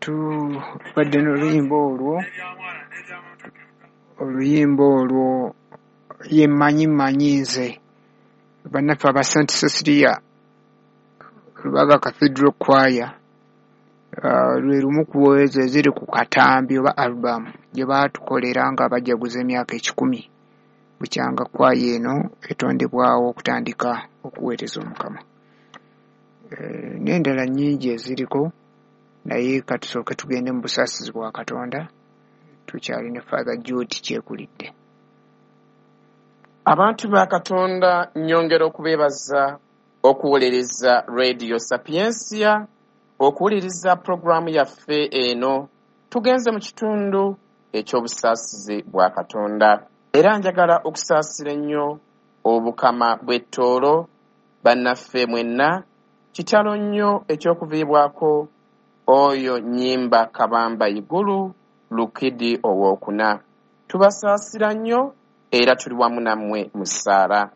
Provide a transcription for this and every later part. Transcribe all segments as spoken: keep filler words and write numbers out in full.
Tubadde n'oluyimba olwo, oluyimba olwo ye mmanyi mmanyi nze, bannaffe aba Saint Cecilia Lubaga Cathedral Choir, uh, lwe lumu ku ezo eziri ku katambi oba album gye baatukolera nga bajaguza emyaka ekikumi bukyanga kwaya eno etondebwawo okutandika okuweereza Omukama. Eh, n'endala nnyingi eziriko, naye katusooke tugende mu busaasizi bwa Katonda. Tukyali ne Father Jude Kyekulidde. Abantu ba Katonda, nnyongera okubeebaza okuwuliriza Radio Sapientia, okuwuliriza pulogulaamu yaffe eno. Tugenze mu kitundu eky'obusaasizi bwa Katonda. Era njagala okusaasira ennyo obukama bw'ettoolo, bannaffe mwenna, kitalo nnyo eky'okuviibwako oyo Nnyimba Kabamba Igulu Lukidi owookuna. Tubasaasira nnyo era tuli wamu nammwe mu ssaala.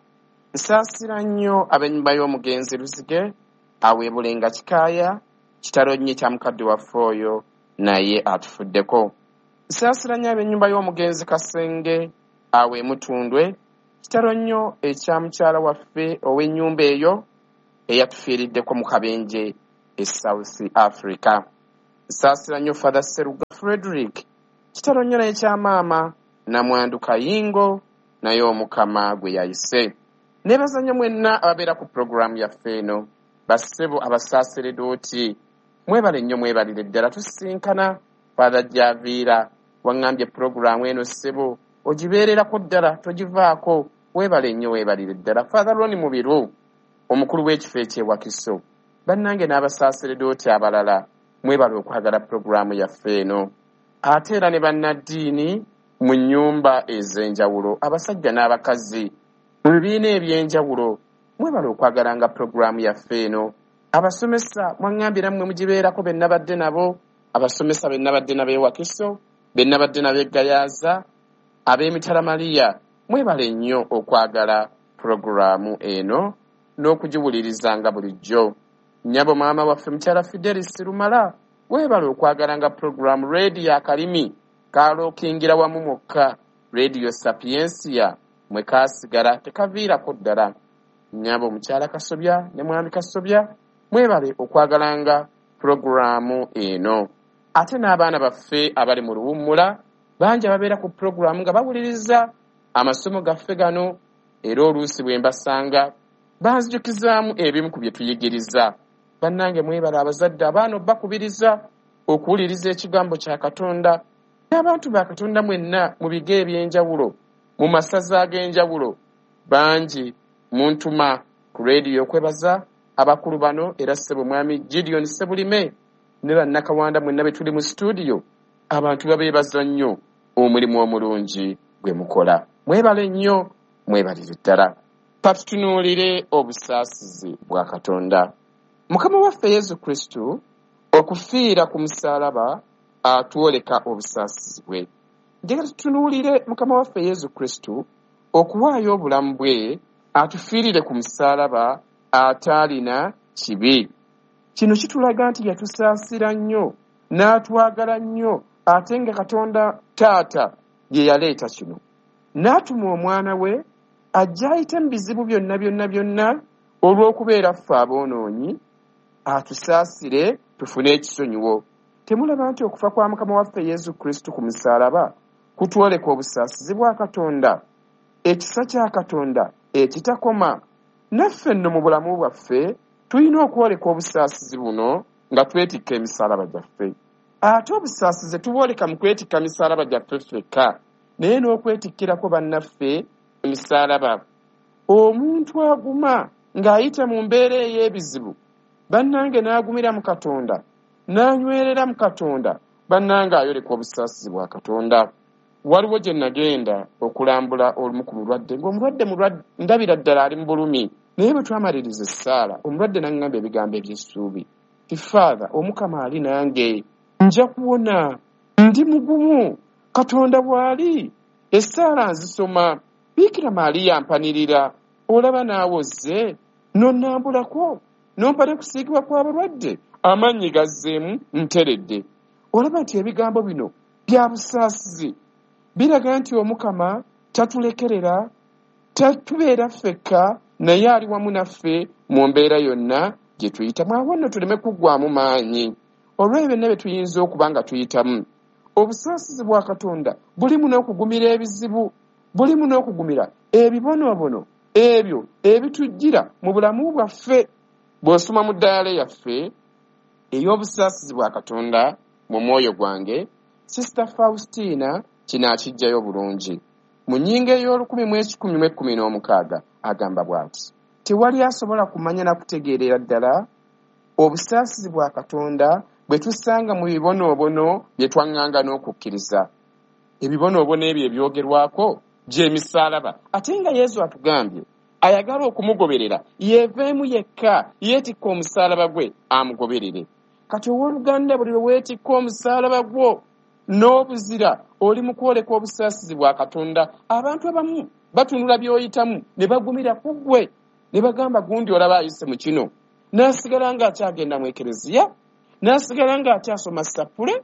Nsaasira nnyo ab'ennyumba y'omugenzi Luzige aweebulenga Kikaaya, kitalo nnyo ekya mukadde waffe oyo naye atufuddeko. Nsaasira nnyo ab'ennyumba y'omugenzi Kasenge aweemutundwe, kitalo nnyo ekya mukyala waffe ow'ennyumba eyo eyatufiiriddeko mu kabenje e South Africa. Nsaasira nnyo Father Seruga Frederick, kitalo nnyo naye kya maama Namwandu Kayingo naye Omukama gwe yayise. Neebaza nnyo mwenna ababeera ku pulogulaamu yaffe eno, bassebo abasaaseredooti, mwebale nnyo, mwebalire ddala. Tusisinkana Father Javiira, waŋŋambye pulogulaamu eno ssebo ogibeererako ddala togivaako, weebale nnyo, weebalire ddala. Father Ronnie Mubiru, omukulu w'ekifo eky'e Wakiso, bannange n'abasaaseredooti abalala, mwebale okwagala pulogulaamu yaffe eno. Ate era ne bannaddiini mu nnyumba ez'enjawulo, abasajja n'abakazi mu bibiina eby'enjawulo, mwebale okwagalanga pulogulaamu yaffe eno. Abasomesa mwaŋŋambye nammwe mugibeerako, be nabadde nabo, abasomesa be nabadde nabo e Wakiso, be nabadde nabo e Gayaza, ab'emitala Mariya, mwebale nnyo okwagala pulogulaamu eno n'okugiwulirizanga bulijjo. Nnyabo maama waffe mukyala Fidelis Lumala, weebale okwagalanga pulogulaamu. Rediyo akalimi kalookingira wamu mwokka, Radio Sapientia mwe kaasigala tekaviirako ddala. Nnyabo mukyala Kasobya ne mwami Kasobya, mwebale okwagalanga pulogulaamu eno. Ate n'abaana baffe abali mu luwummula bangi ababeera ku pulogulaamu nga bawuliriza amasomo gaffe gano, era oluusi bwe mbasanga banzijukizaamu ebimu ku bye tuyigiriza. Bannange mwebale abazadde abaana obbakubiriza okuwuliriza ekigambo kya Katonda. N'abantu ba Katonda mwenna mu bigo eby'enjawulo, mu masaza ag'enjawulo, bangi muntuma ku rediyo okwebaza abakulu bano, era ssebo mwami Gideon Sebulime ne bannakawanda mwenna be tuli mu situdiyo, abantu babeebaza nnyo omulimu omulungi gwe mukola. Mwebale nnyo, mwebalire ddala. Katutunuulire obusaasizi bwa Katonda. Mukama waffe Yesu Kristo okufiira ku musaalaba atwoleka obusaasizi bwe. Njagala tutunuulire Mukama waffe Yesu Kristo okuwaayo obulamu bwe atufiirire ku musaalaba ataalina kibi. Kino kitulaga nti yatusaasira nnyo n'atwagala nnyo, ate nga Katonda Taata ye yaleeta kino. N'atuma omwana we ajja ayite mu bizibu byonna byonna byonna olw'okubeera ffe aboonoonyi, atusaasire tufune ekisonyiwo. Temulaba nti okufa kwa Mukama waffe Yesu Kristo ku musaalaba kutwoleka obusaasizi bwa Katonda, ekisa kya Katonda ekitakoma? Naffe nno mu bulamu bwaffe tulina okwoleka obusaasizi buno nga twetikka emisaalaba gyaffe. Ate obusaasizi tubwoleka mu kwetikka misaalaba gyaffe ffekka, naye n'okwetikkirako bannaffe emisaalaba. Omuntu aguma ng'ayita mu mbeera ey'ebizibu, bannange, n'agumira mu Katonda, n'anywerera mu Katonda, bannange, ayoleka obusaasizi bwa Katonda. Waliwo gye nagenda okulambula olumu ku mulwadde, ng'omulwadde mulwadde ndabira ddala ali mu bulumi, naye bwe twamaliriza essaala, omulwadde n'aŋŋamba ebigambo eby'essuubi ti, "Father, Omukama ali nange, nja kuwona, ndi mugumu, Katonda bw'ali, essaala nzisoma, Biikira Maaliya mpanirira, olaba naawe ozze nonnambulako nompa ne kusiigibwa kw'abalwadde, amannyi gazzeemu, nteredde." Olaba nti ebigambo bino bya busaasizi, biraga nti Omukama tatulekerera, tatubeera ffekka, naye ali wamu naffe mu mbeera yonna gye tuyitamu. Awo nno tuleme kuggwaamu maanyi olw'ebyo byonna bye tuyinza okuba nga tuyitamu. Obusaasizi bwa Katonda bulimu n'okugumira ebizibu, bulimu n'okugumira ebibonoobono ebyo ebitujjira mu bulamu bwaffe. Bw'osoma mu ddaala yaffe ey'obusaasizi bwa Katonda mu mwoyo gwange, Sister Faustina kino akiggyayo bulungi. Mu nnyingo ey'olukumi mu ekikumi mu ekkumi n'omukaaga agamba bw'ati: tewali asobola kumanya na kutegeerera ddala obusaasizi bwa Katonda bwe tusanga mu bibonoobono bye twaŋŋanga n'okukkiriza. Ebibonoobono ebyo ebyogerwako gy'emisaalaba, ate nga Yesu atugambye ayagala okumugoberera yeeveemu yekka, yeetikka omusaalaba gwe amugoberere. Kati owooluganda, buli lwe weetikka omusaalaba gwo n'obuzira, oli mu kwoleka obusaasizi bwa Katonda. Abantu abamu batunula by'oyitamu ne bagumira ku ggwe, ne bagamba gundi olaba ayise mu kino, n'asigala ng'akyagenda mu ekereziya, n'asigala ng'akyasoma sappule,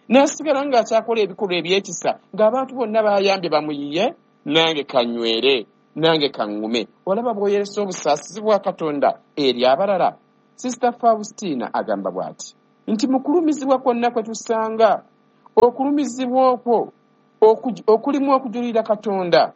n'asigala ng'akyakola ebikolwa eby'ekisa, ng'abantu bonna bayambye bamuyiye, nange kanywere, nange kaŋŋume. Olaba bw'oyolesa obusaasizi bwa Katonda eri abalala. Sister Faustina agamba bw'ati nti mu kulumizibwa kwonna kwe tusanga, okulumizibwa okwo okulimu okujulira Katonda,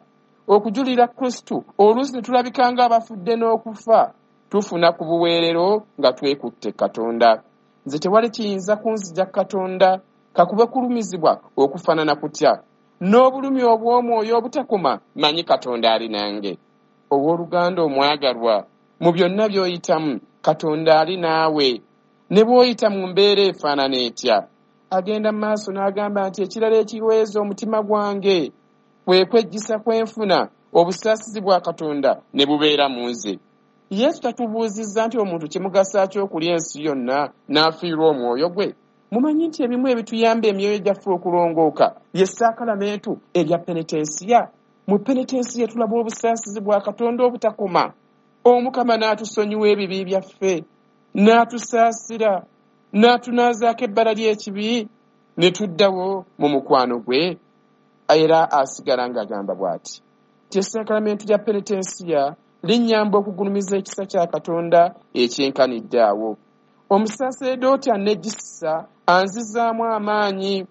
okujulira Kristo, oluusi ne tulabika ng'abafudde n'okufa, tufuna ku buweerero nga twekutte Katonda. Nze tewali kiyinza kunzija Katonda, kakube kulumizibwa okufaanana kutya, n'obulumi obw'omwoyo obutakoma, manyi Katonda ali nange. Owooluganda omwagalwa, mu byonna by'oyitamu, Katonda ali naawe, ne bw'oyita mu mbeera efaanana etya. Agenda mu maaso n'agamba nti ekirala ekiweeza omutima gwange kwe kwejjisa kwenfuna obusaasizi bwa Katonda ne bubeera mu nze. Yesu tatubuuzizza nti omuntu kimugasa ki okulya ensi yonna n'afiirwa omwoyo gwe. Mumanyi nti ebimu ebituyamba emyoyo gyaffe okulongooka ye saakalamentu erya penetensiya. Mu penetensiya tulaba obusaasizi bwa Katonda obutakoma. Omukama n'atusonyiwa ebibi byaffe, n'atusaasira, n'atunaazaako ebbala ly'ekibi, ne tuddawo mu mukwano gwe. Era asigala ng'agamba bw'ati nti essaakalamentu lya penetensiya linnyamba okugulumiza ekisa kya Katonda ekyenkanidde awo. Omusaseredooti anneggisa anzizaamu amaanyi,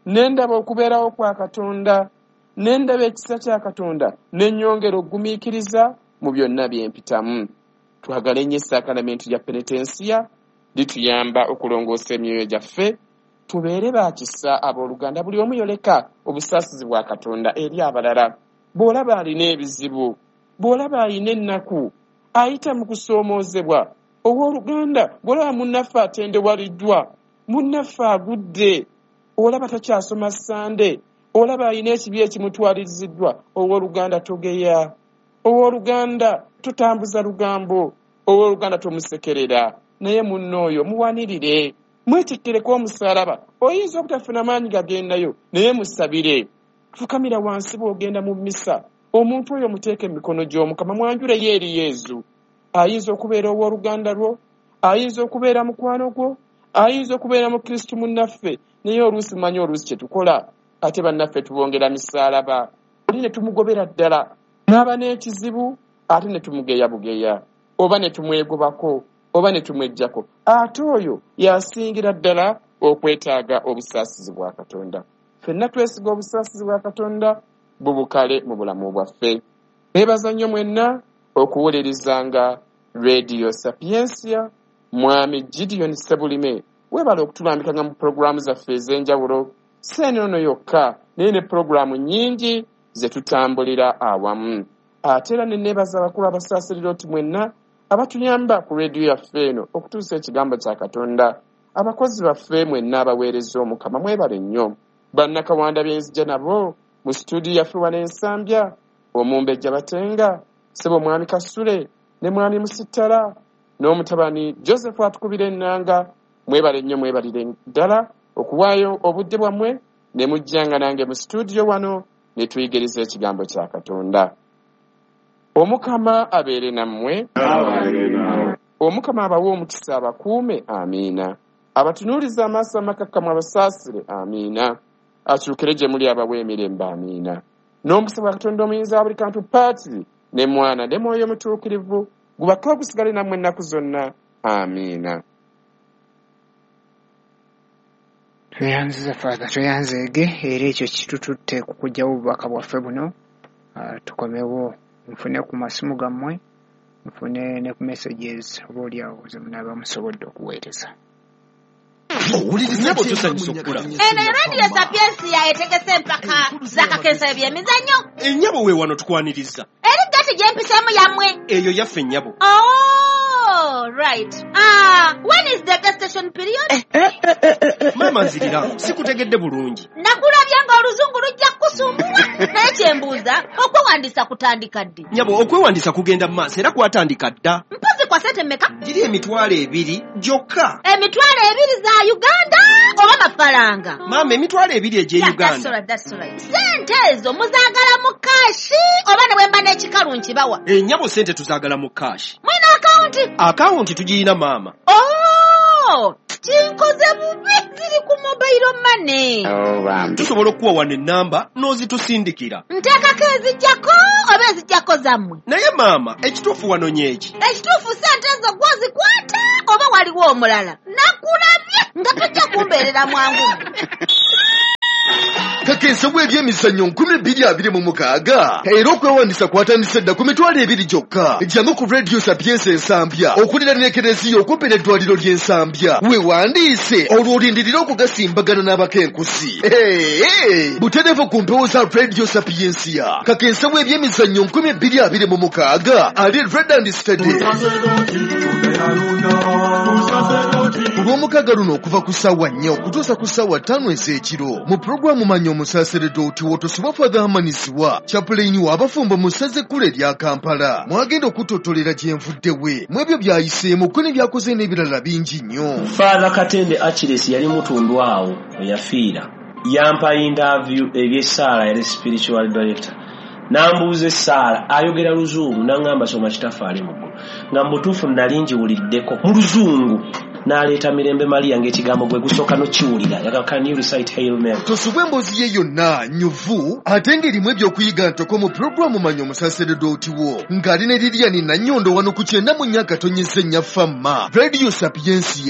ne ndaba okubeerawo kwa Katonda, ne ndaba ekisa kya Katonda, ne nnyongera okugumiikiriza mu byonna bye mpitamu. Twagale nnyo essaakalamentu lya penetensiya, lituyamba okulongoosa emyoyo gyaffe, tubeere ba kisa abooluganda. Buli omu yoleka obusaasizi bwa Katonda eri abalala. Bw'olaba alina ebizibu, bw'olaba alina ennaku, ayita mu kusoomoozebwa, owooluganda, bw'olaba munnaffe atendewaliddwa, munnaffe agudde, olaba takyasoma Ssande, olaba alina ekibi ekimutwaliriziddwa, owooluganda togeya, owooluganda totambuza lugambo, owooluganda tomusekerera, naye munno oyo muwanirire, mwetikkireko omusaalaba. Oyinza obutafuna maanyi gagendayo, naye musabire. Fukamira wansi bw'ogenda mu mmisa, omuntu oyo muteeke emikono gy'Omukama, mwanjuleyo eri Yesu. Ayinza okubeera owooluganda lwo, ayinza okubeera mukwano gwo, ayinza okubeera mu Kristo munnaffe, naye oluusi mumanyi oluusi kye tukola, ate bannaffe tubongera misaalaba, oli ne tumugobera ddala, n'aba n'ekizibu, ate ne tumugeya bugeya, oba ne tumwegobako, oba ne tumweggyako. Ate oyo yasingira ddala okwetaaga obusaasizi bwa Katonda. Ffenna twesiga obusaasizi bwa Katonda bubukale mu bulamu bwaffe. Neebaza nnyo mwenna okuwulirizanga Radio Sapientia. Mwami Gideon Ssebulime, weebale okutulambikanga mu pulogulaamu zaffe ez'enjawulo, si eno yokka, naye ne pulogulaamu nnyingi ze tutambulira awamu. Ate era ne neebaza abakulu abasaaseredooti mwenna abatuyamba ku rediyo yaffe eno okutuusa ekigambo kya Katonda. Abakozi baffe mwenna abaweereza Omukama mwebale nnyo. Bannakawanda b'enzija nabo mu situdiyo yaffe wano Ensambya, Omumbejja Batenga, Ssebo Mwami Kasule ne Mwami Musittala n'omutabani Joseph atukubira ennanga, mwebale nnyo, mwebalire ddala okuwaayo obudde bwammwe ne mujjanga nange mu situdiyo wano ne tuyigiriza ekigambo kya Katonda. Omukama abeere nammwe. Omukama abawe omukisa abakuume. Amiina. Abatunuulize amaaso amakakkamu abasaasire. Amiina. Akyukire gye muli abawe emirembe. Amiina. N'omukisa gwa Katonda omuyinza wa buli kantu, Patri ne Mwana ne Mwoyo Mutuukirivu, gubake ogusigale nammwe ennaku zonna. Amiina. Tweyanziza Father, tweyanzeege, era ekyo kitututte ku kuggyawo obubaka bwaffe buno. Uh, tukomewo nfune ku masimu gammwe, nfune ne ku messages oba oliawo ze munaaba musobodde okuweereza. Nnyabo tusanyusa okukulaba. Eno Radio Sapiensia etegese empaka z'akakensa eby'emizannyo. Ennyabo we wano tukwaniriza. Eri gati gye mpiseemu yammwe. Eyo yaffe nnyabo. Oh, right. Ah, when is the gestation period? Eh, eh, eh, eh, eh. Maama nzirira, sikutegedde bulungi. Nakulabye ng'oluzungu lujja kukusumbuwa. Naye kye mbuuza, okwewandiisa kutandika ddi? Nnyabo, okwewandiisa kugenda mu maaso era kwatandika dda. Mpozi kwa ssente mmeka? Giri emitwalo ebiri gyokka. Emitwalo ebiri za Uganda oba mafaranga? Maama, emitwalo ebiri egy'e Yeah, Uganda. that's all right, that's all right. Ssente ezo muzaagala mu kaashi oba ne bwe mba n'ekikalu nkibawa? Ennyabo ssente tuzaagala mu kaashi. Mulina akawunti? Akawunti tugiyina maama. Oh, kinkoze bubi, ziri ku mobile money. Tusobola okuwa wano ennamba n'ozitusindikira. Nteekako ezijjako oba ezijjako zammwe? Naye maama, ekituufu wano nyeeki. Ekituufu ssente ezo gw'ozikwata oba waliwo omulala? Nakulabye nga tojja kumbeerera mwangu. Kakensa bw'ebyemizannyo nkumi bbiri abiri mu mukaaga era okwewandiisa kwatandise dda ku mitwalo ebiri gyokka. Jangu ku Radio Sapiensia Ensambya okuliraana Ekereziya okumpi n'eddwaliro ly'Ensambya, weewandiise olwo olindirire okugasimbagana n'abakenkusi. Hey, butereevu ku mpewo za Radio Sapiensia. Kakensa bw'ebyemizannyo nkumi bbiri abiri mu mukaaga ali red and steady. Olw'omukaaga luno okuva ku ssaawa nnya okutuusa ku ssaawa ttaano ez'ekiro mu pulogulaamu Manya Omusaseredooti w'otosibwa Father Hamanisiwa, chaplain w'abafumbo mu ssaza ekkulu erya Kampala, mwagenda okutottolera gye nvudde we mu ebyo by'ayiseemu ko ne by'akoze n'ebirala bingi nnyo. Father Katende Achilles yali mutundu awo we yafiira. Yampa interview eby'essaala, yali spiritual director. Nambuuza essaala, ayogera luzungu, n'aŋŋamba soma Kitaffe ali mu ggulu. Nga mu butuufu nali ngiwuliddeko mu luzungu. N'aleeta Mirembe Maria ng'ekigambo gwe gusooka n'okiwulira. Yagamba, can you recite Hail Mary? Tosubwa emboozi ye yonna nnyuvu ate ng'erimu ebyokuyiga ntoko mu pulogulaamu Manya Omusaseredooti wo ng'ali ne Lilian Nannyondo wano ku kyenda mu nnya akatonyeza ennya Famma Radio Sapiensia.